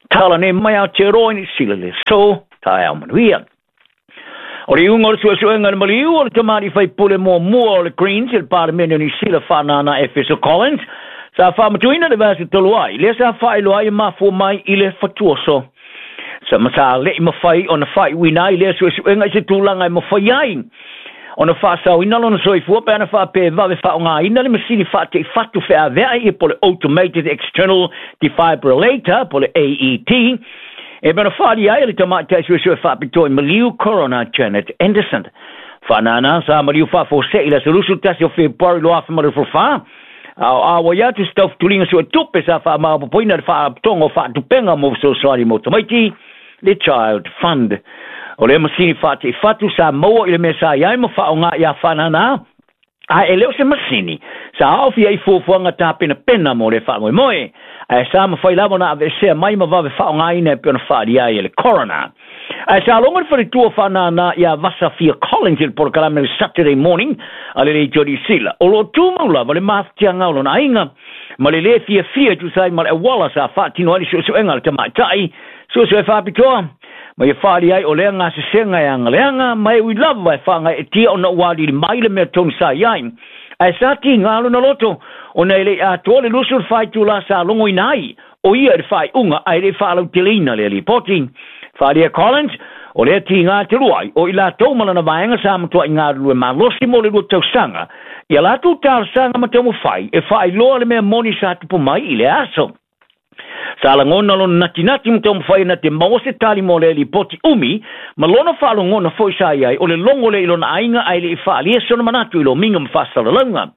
Tala nei mai Aotearoa i Niu Sila le aso, taeao manuia. O le iuga o le suesuega i le maliu o le tamalii faipule muamua o le Greens i le Palemene o Niu Sila Faanana Efeso Collins, sa faamatuina le vaiaso talu ai, lea sa faailoa ai e mafua mai i le fatuoso. Sa ma sa le'i mafai ona faaiuina ai lea suesuega i se tulaga e mafai ai ona faasaoina lona soifua pe ana faapea e vave faaaogaina le masini faateifatu feaveai ia po o le Automated External Defibrillator po o le AED e pei ona faaalia ai e le tamaitai suesue faapitoa i maliu Coroner Janet Anderson. Faanana sa maliu faafuasei i le aso 21 o Fepuari 2024, a o auai atu se taufutuliga suetupe sa faamaopoopoina e le Faalapotopotoga o Faatupega mo Fesoasoani mo Tamaiti, le Child Fund. O lea masini faateifatu sa maua i le mea sa i ai ma faaaoga ia Faanana, ae e le o se masini sa aofia i fuafuaga tapenapena mo lea faamoemoe, ae sa mafai lava ona aveesea mai ma vave faaaogaina e pei ona faaalia ai e le Coroner. Ae sa logo le faletua faanānā ia Vasa Fia Collins i le polokalame o le Saturday Morning a le Leitio Niu Sila, o lo o tumau lava le mafatiaga o lona aiga ma le lē fiafia e tusa ai ma le auala sa faatino ai le suesuega a le tamaitai suesue faapitoa ma ia faaali ai o lea gasesega e agaleaga ma e ui lava e faagaeetia ona ua alili mai le mea tonu sa i ai. Ae sa tiga lona loto ona e le i atoa le 24 itula sa logoina ai o ia i le faaiuga ae le i faalauteleina lea lipoti. Faaalia Collins, o lea tiga talu ai, o i latou ma lana vaega sa matuai galulue malosi mo le 2 tausaga i a latou talosaga ma taumafai e faailoa le mea moni sa tupu mai i lea aso. Sa lagona lona natinati ma taumafai na te maua se tali mo lea lipoti umi ma lona faalogona foi sa i ai o le logo lea i lona aiga ae le i faaalia sona manatu i lomiga ma faasalalauga.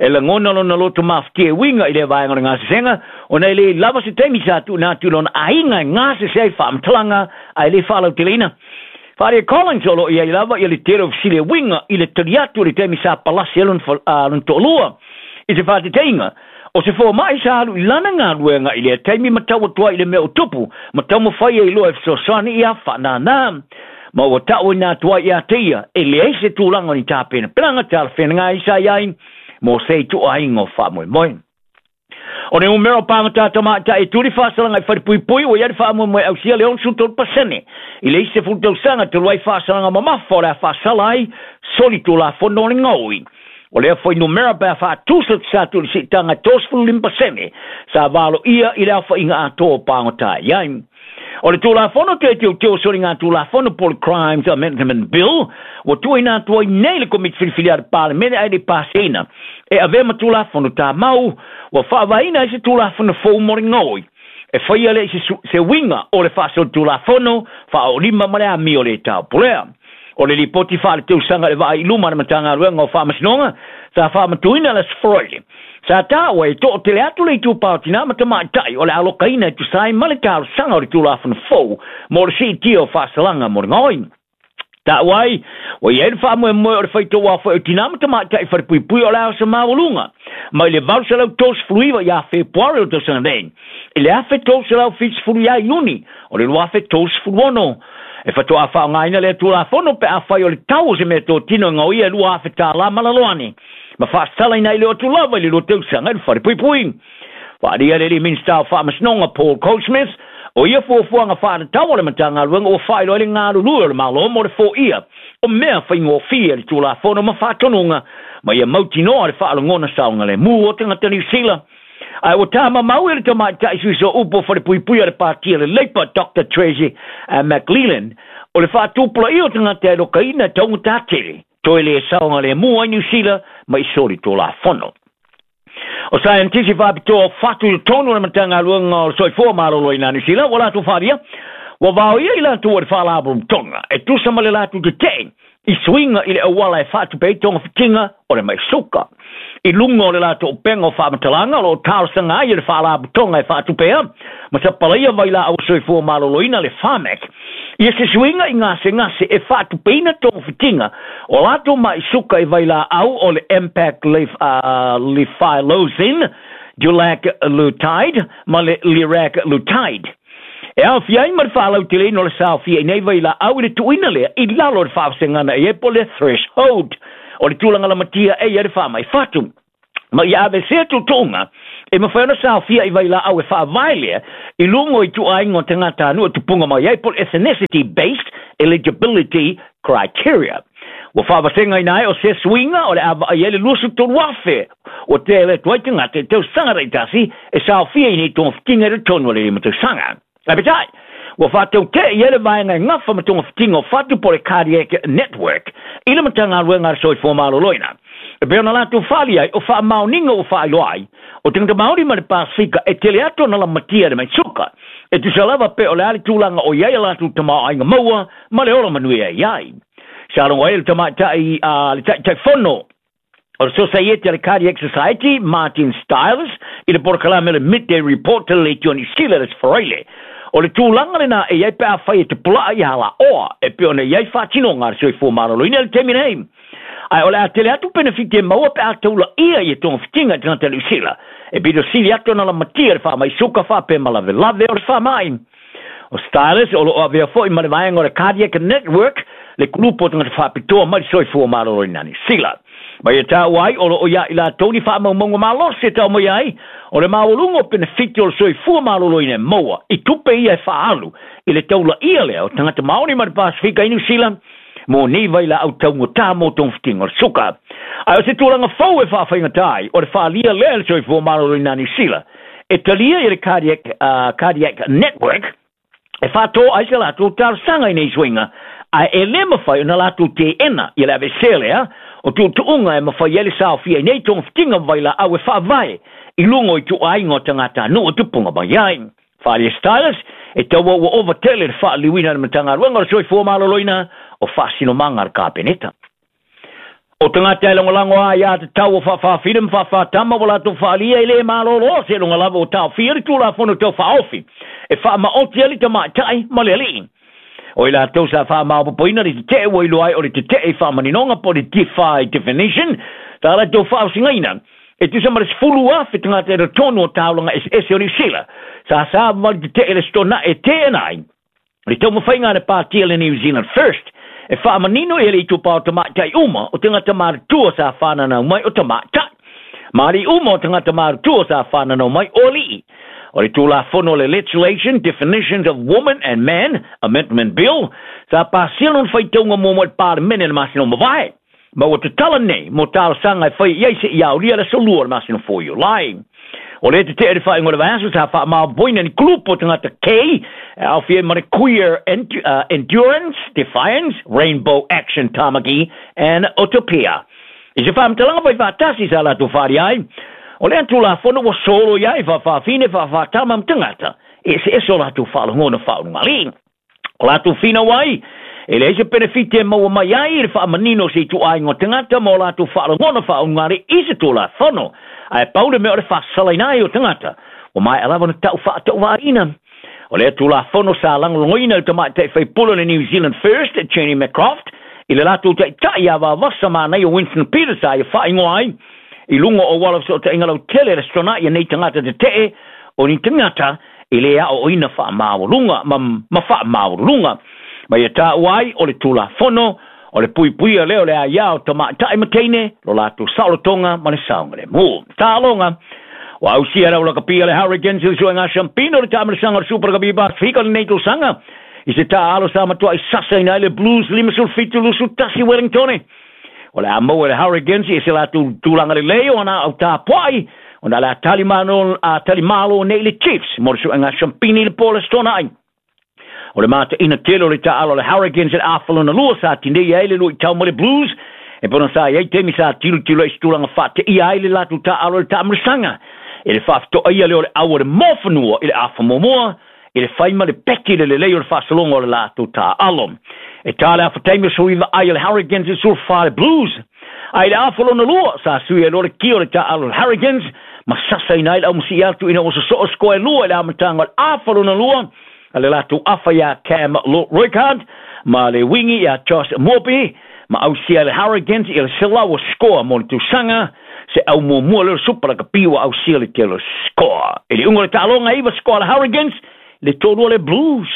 E lagona lona loto mafatia e uiga i lea vaega o le gasesega, ona e le lava se taimi sa tuuina atu i lona aiga e gasese ai faamatalaga ae le faalauteleina. Faaalia Collins o lo o i ai lava ia le tele o fesili e uiga i le tali atu i le taimi sa palasi ai lona toalua. I se faateteiga, o se fomai sa alu i lana galuega i lea taimi ma tau atu ai i le mea o tupu ma taumafai ai loa e fesoasoani ia Faanana. Ma ua ta'uina atu ai ia te ia e leai se tulaga o ni tapenapenaga talafeagai sa i ai mo se ituaiga o faamoemoe. O le numera o pagota tamaitai e tuli faasalaga i falepuipui ua i ai le faamoemoe ausia le 63% i le isi 10 tausaga talu ai faasalaga mamafa o le a faasala ai solitulafono o le gaoi. O lea fuainumera pe a faatusatusa atu i le siitaga e 35% sa valoia i le aofaiga atoa o pagota i ai. O le Tulafono toe teuteu o soligatulafono po o le Crimes Amendment Bill ua tuuina atu ai nei le Komiti Filifili a le Palemene ae le i pasiaina e avea ma Tulafono Tamau ua faavaeina ai se Tulafono fou mo le gaoi e faia lea i se uiga o le faasolitulafono faaoolima ma le amio le taupulea. O le lipoti faaletausaga i le vaai i luma a le Matagaluega o Faamasinoga sa faamatuina le Aso Faraile, sa taua e toatele atu le itupa o tinā ma tamaitai o le alokaina e tusa ai ma le talosaga o le Tulafono fou mo le siitia o faasalaga mo le gaoi. Taua ai, ua i ai le faamoemoe o le faitauaofai o tinā ma tamaitai falepuipui o le ao maualuga mai le 839 ia Fepuari o le tausaga nei i le 1370 ia Iuni o le 2036. E faatoa faaaogaina lea Tulafono pe afai o le tau o se meatotino e gaoia e $2,000 ma lalo ane, ma faasalaina ai le o atu lava i le 2 tausaga i le falepuipui. Faaalia le alii Minisita o Faamasinoga Paul Goldsmith, o ia fuafuaga faatatau a le Matagaluega ua faailoa ai le galulue o le Malo mo le foia o mea faigofie i le Tulafono ma faatonuga ma ia mautinoa le faalogona saogalemu o tagata Niu Sila. Ae ua tamamau e le tamaitai sui sooupu o falepuipui a le Pāti a le Labour, Doctor Tracy McLellan, o le faatupulaia o tagata e alokaina e taugata tele, toe le saogalemu ai Niu Sila ma i solitulafono. O saienitisi faapitoa o fatu i totonu o le Matagaluega o le Soifua Maloloina a Niu Sila ua latou faaalia, ua vaoia i latou e le Faalapotopotoga e tusa ma le latou tetee i suiga i le auala e faatupe ai togafitiga o le mai suka. I luga o le latou upega o faamatalaga o lo o talosaga ai e le Faalapotopotoga e faatupea ma sapalaia vailaau soifua maloloina le Pharmac ia se suiga i gasegase e faatupeina togafitiga o latou mai suka i vailaau o le Empagliflozin, Dulaglutide ma le Liraglutide. E aofia ai ma le faalauteleina o le saofia i nei vailaau i le tuuina lea i lalo o le faavasegaga e i ai po o le threshold o le tulaga lamatia e i ai le faamai fatu. Ma ia aveesea tuutuuga e mafai ona saofia i vailaau e faavae lea i luga o ituaiga o tagatanuu e tupuga mai ai po o le ethnicity based eligibility criteria. Ua faavasegaina ai o se suiga o le a vaai ai le 23,000 ua tele atu ai tagata i tausaga taitasi e saofia i nei togafitiga i totonu o le 5 tausaga. Ae peitai, ua faatautee i ai le vaega e gafa ma togafitiga o fatu po o le Cardiac Network i le Matagaluega a le Soifua Maloloina. E pei ona latou faali ai, o faamaoniga ua faailoa ai, o tagata Maori ma le Pasefika e tele atu ona lamatia i le mai suka, e tusa lava pe o le a le tulaga o i ai a latou tamaoaiga maua ma le ola manuia e i ai. Sa logo ai le tamaitai a le Taitaifono o le Sosaiete a le Cardiac Society, Martin Stiles, i le polokalame o le Midday Report i le Leitio Niu Sila i le Aso Faraile. O le tulaga lena e i ai pe afai e tapulaa i halaoa e pei ona i ai faatinoga a le soifua maloloina i le taimi nei. Ae o le a tele atu penefiti e maua pe a taulaia ia togafitiga i tagata Niu Sila, e pito sili atu ona lamatia le faamai suka faapea ma lavelave o le faamai. O Stylus o lo o avea foi ma le vaega o le Cardiac Network, le kulupu o tagata faapitoa mai le soifua maloloina Niu Sila. Ma ia taua ai o lo o ia i latou ni faamaumauga malosi e tau mai ai o le maualuga o penefiti o le soifua maloloina e maua i tupe ia e faaalu i le taulaia lea o tagata Maori ma le Pasefika i Niu Sila mo nei vailaau taugata mo togafitiga o le suka. Ae o se tulaga fou e faafaigata ai o le faaalia lea e le soifua maloloina Niu Sila e talia i le Cardiac Network e faatō ai se latou talosaga i nei suiga, ae e le mafai ona latou teena ia le aveesea lea o tuutuuga e mafai ai le saofia i nei togafitiga ma vailaau e faavae i luga o ituaiga o tagatanuu e tupuga mai ai. Faaalia Stylus, e taua ua ova tele le faaliliuina e le Matagaluega o le Soifua Maloloina o faasinomaga a le Kapeneta. O tagata e lagolago aiā tatau o faafaafine ma faafaatama ua latou faaalia e le malolo seiloga lava ua taofia le Tulafono Tau Faaofi e faamaoti ai le tamaitai ma le alii. O i latou sa faamaopoopoina le tetee ua iloa ai o le tetee i faamaninoga po o le defy definition sa latou faaosigaina e tusa ma le 10,000 tagata i totonu o taulaga eseese o Niu Sila sa savavali tetee le Aso e teena ai le taumafaiga a le Pāti a le New Zealand First e faamanino i le itupa o tamaitai uma o tagata matutua sa whananau mai o tamaitai. Ma alii uma o tagata matutua sa whananau mai o alii. O le Tulafono le Legislation Definitions of Woman and Man Amendment Bill sa pasia lona faitauga muamua i le Palemene i le masina o mavae. Ma ua tatala nei mo talosaga e fai i ai seia aulia le aso 2 o le masina fou o Iulai. O lea tetee le faaiuga o le vaiaso sa faamaopoopoina ni kulupu o tagata K e aofia ai ma le Queer Endurance, Defiance, Rainbow Action Tamaki and Utopia. I se faamatalaga fai faatasi sa latou faaalia ai, o lea Tulafono ua solo i ai faafaafine, faafaatama ma tagata e eseese o latou faalogona faaulugalii. O latou finau ai, e leai se penefiti e maua mai ai i le faamanino o se ituaiga o tagata ma o latou faalogona faaulugalii i se Tulafono, ae pau le mea o le faasalaina ai o tagata ua maea lava ona tau faatauvaina. O lea Tulafono sa lagolagoina e le tamaitai faipule o le New Zealand First, Jenny McCroft, i le latou taitai ia Vavasa Manaia Winston Peters sa ia faaigoa ai i luga o auala o fesootaiga lautele le Aso Toonai nei tagata tetee o ni tagata e le aoaoina faamaualuga ma faamaualuluga. Ma ia taua ai o le Tulafono o le puipuia lea o le aia o tamaitai ma teine lo latou saolotoga ma le saogalemu. Taaloga. Ua ausia le aulakapi a le Hurricanes i le suega siampina o le taamilosaga o le Super Rugby Pasefika o lenei tausaga i se taaalo sa matuai sasaina ai le Blues 57-21 Wellingtone. O le a maua e le Hurricanes i se latou tulaga lelei o ana au tapuai ona o le a talimalo nei le Chiefs mo le suega siampina i le po o le Aso Toonai. O le mataina tele o le taaalo a le Hurricanes i le afa lona lua sa tinei ai le luitau ma le Blues e pei ona sa i ai taimi sa tilotilo ai i se tulaga faateia ai le latou taaalo i le taamilosaga i le faafetoaia lea o le au o le moafanua i le afa muamua i le fai ma le peki le lelei o le faasologa o le latou taaalo. E tā le afa taimi o sui vaai o le Hurricanes i le 14 le Blues. Ae i le afa lona lua, sa sui ai loa le kia o le taaalo o le Hurricanes ma sasaina ai le aumasii atu ina ua sosoo sikoa e lua i le amataga o le afa lona lua a le latou afa iā Cam Roigard ma le wingi iā Josh Moorby ma ausia e le Hurricanes i le 100 sikoa mo le tausaga se au muamua lea o le Super Rugby ua ausia le tele o sikoa. I le iuga o le taaloga e 9 sikoa a le Hurricanes le 3 o le Blues.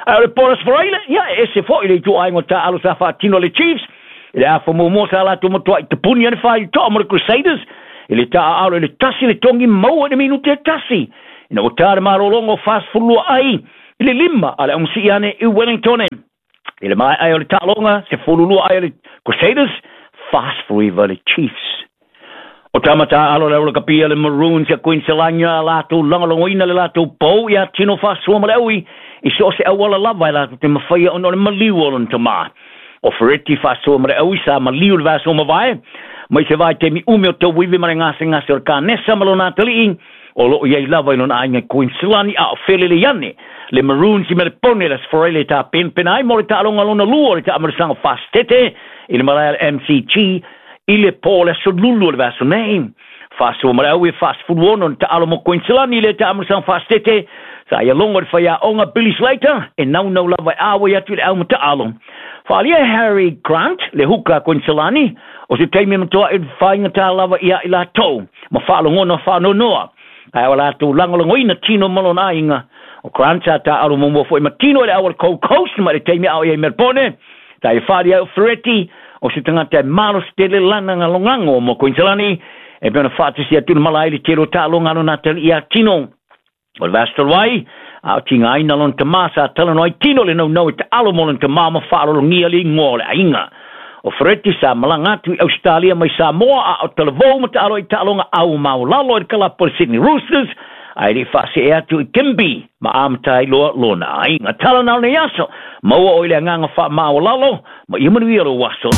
Ae o le po o le Aso Faraile, ia e ese foi le ituaiga o taaalo sa faatino e le Chiefs i le afa muamua sa latou matuai tapuni ai le faitoa mo le Crusaders i le taaalo i le 1 le togi maua i le minute e 1 ina ua ta le malologa o 42 ai i le 5 a le aumasii ane i Wellingtone. I le maea ai o le taaloga, 12 ai o le Crusaders, 49 le Chiefs. O tama taaalo le aulakapia le Maroons ia Kuiniselani a latou lagolagoina le latou pou ia Tino Faasoa ma le aui i so o se auala lava e latou te mafaia ona o le maliu o lona tamā. O Fereti Faasoa ma le aui sa maliu i le vaiaso ua mavae mai se vaitaimi umi o tauivi ma le gasegase o le kanesa ma lona atalii o lo o i ai lava i lona aiga i Kuiniselani a o felelei ane le Maroons i Melepone i le Aso Faraile e tapenapena ai mo le taaloga lona lua o le taamilosaga Fasitete i le malae a le MCG i le po o le Aso Lulu o le vaiaso nei. Faasoa ma le aui e 46 ni taalo mo Kuiniselani i le taamilosaga Fasitete sa ia logo i le faiaoga Billy Slater e naunau lava e ʻauai atu i le au mataalo. Faaalia e Harry Grant le huka a Kuiniselani o se taimi e matuai faigata lava ia i latou ma faalogona faanoanoa ae o latou lagolagoina Tino ma lona aiga. O Grant sa taaalo muamua foi ma Tino i le au a le Gold Coast mai le taimi a o i ai i Melbourne. Sa ia faaalia ai o Fereti o se tagata e malosi tele lana lagolago mo Kuiniselani e pei ona faatasi atu le mala ai le tele o taaloga a lona atalii ia Tino. O le vaiaso talu ai, a o tigaina lona tamā sa talanoa ai Tino le naunau e taalo mo lona tamā ma faalologia le igoa o le aiga. O Fereti sa malaga atu i Ausetalia mai Samoa a o talavou ma taalo ai i taaloga au maualalo i le kalapu a le Sydney Roosters ae le i faasee atu i Kimby ma amata ai loa lona aiga. Tala na o lenei aso, maua oe i le agaga faamaualalo ma ia manuia lou aso.